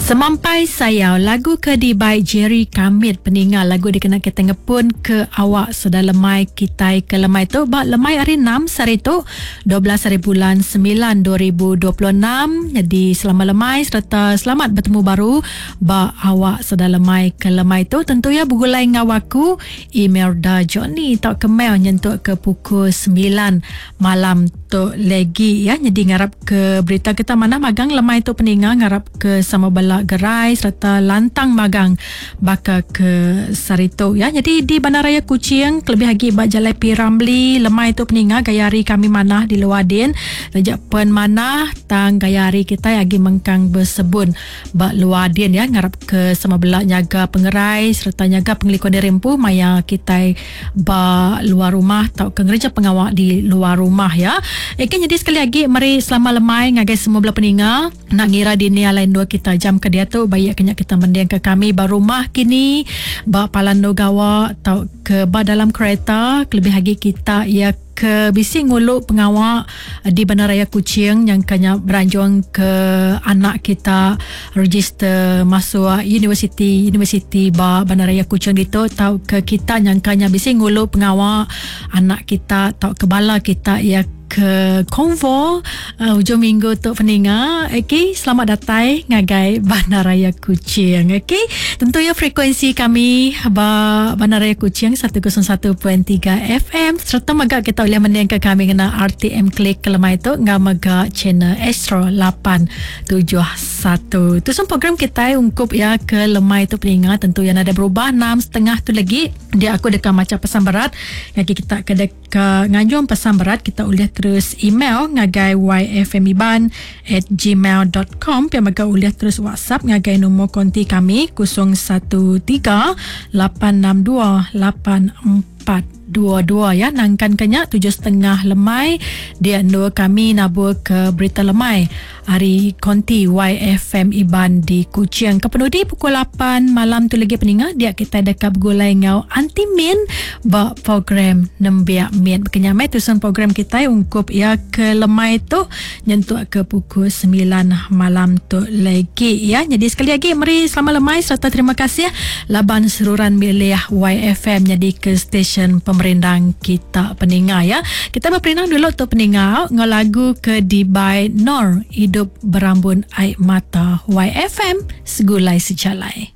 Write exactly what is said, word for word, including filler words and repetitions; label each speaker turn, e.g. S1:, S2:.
S1: Semampai Sayau lagu ke dibai Jerry Kamit peninga lagu dikena kita ngepun ke awak sedar lemai kitai ke lemai tu ba lemai hari enam sehari tu dua belas hari bulan sembilan dua ribu dua puluh enam. Jadi selamat lemai serta selamat bertemu baru ba awak sedar lemai ke lemai tu tentu ya begulai ngau aku Imelda Johnny tau ke mail nyentuk ke pukul sembilan malam tu lagi ya. Jadi ngarap ke berita kita mana magang lemai tu peninga ngarap ke sama bela gerai serta lantang magang baka ke sarito ya. Jadi di Bandaraya Kuching kelebih lagi ba Jalai P. Ramlee lemai tu peninga gaya hari kami manah di luar din rejak pen manah tang gaya hari kita agi mengkang bersebun ba luar din ya. Ngarap ke sama bela nyaga pengerai serta nyaga pengelikun diri empu maya kita ba luar rumah tau ke ngereja pengawak di luar rumah ya. Eke jadi sekali lagi mari selamat lemai ngagai semua bela peninga nak ngira di ni alain dua kita jam ke dia tu baik kena kita mending ke kami ba rumah kini ba palan gawa atau ke ba dalam kereta kelebih lagi kita ya ke bisi ngulu pengawak di Bandaraya Kuching yang kena beranjung ke anak kita register masuk universiti universiti ba Bandaraya Kuching itu atau ke kita yang kena bisi ngulu pengawak anak kita atau ke bala kita ya ke konvo uh, hujung minggu tu peninga. Okey, selamat datang ngagai Bandaraya Kuching. Okey, tentu ya frekuensi kami ba Bandaraya Kuching seratus satu titik tiga F M serta mega kita boleh mendengar kami kena R T M Klik kelemai tu ngau mega channel Astro lapan tujuh satu. Tu semua program kita ungkup ya ke lemai tu peninga tentu yang ada berubah enam setengah tu lagi dia aku dekat macam pesan berat lagi kita ke dekat nganjung pesan berat kita boleh terus email ngagai y f m iban at gmail dot com pia mega boleh terus WhatsApp ngagai nombor konti kami kosong satu tiga lapan enam dua lapan empat dua dua ya. Nangkan kenya tujuh setengah lemai dia dua kami nabur ke berita lemai hari konti Y F M Iban di Kuching. Kepenudi pukul lapan malam tu lagi peninga dia kita dekat bergulai ngau Anti Min ba program Nembiak Min. Kenyamai tusun program kita ungkup ya ke lemai tu nyentuk ke pukul sembilan malam tu lagi ya. Jadi sekali lagi meri selamat lemai serta terima kasih laban seruran milih Y F M jadi ke stesen pemerindang kita peninga ya. Kita berperindang dulu tu peninga ngau lagu ke di by Nor Hidup Berambun Air Mata. Y F M segulai sejalai.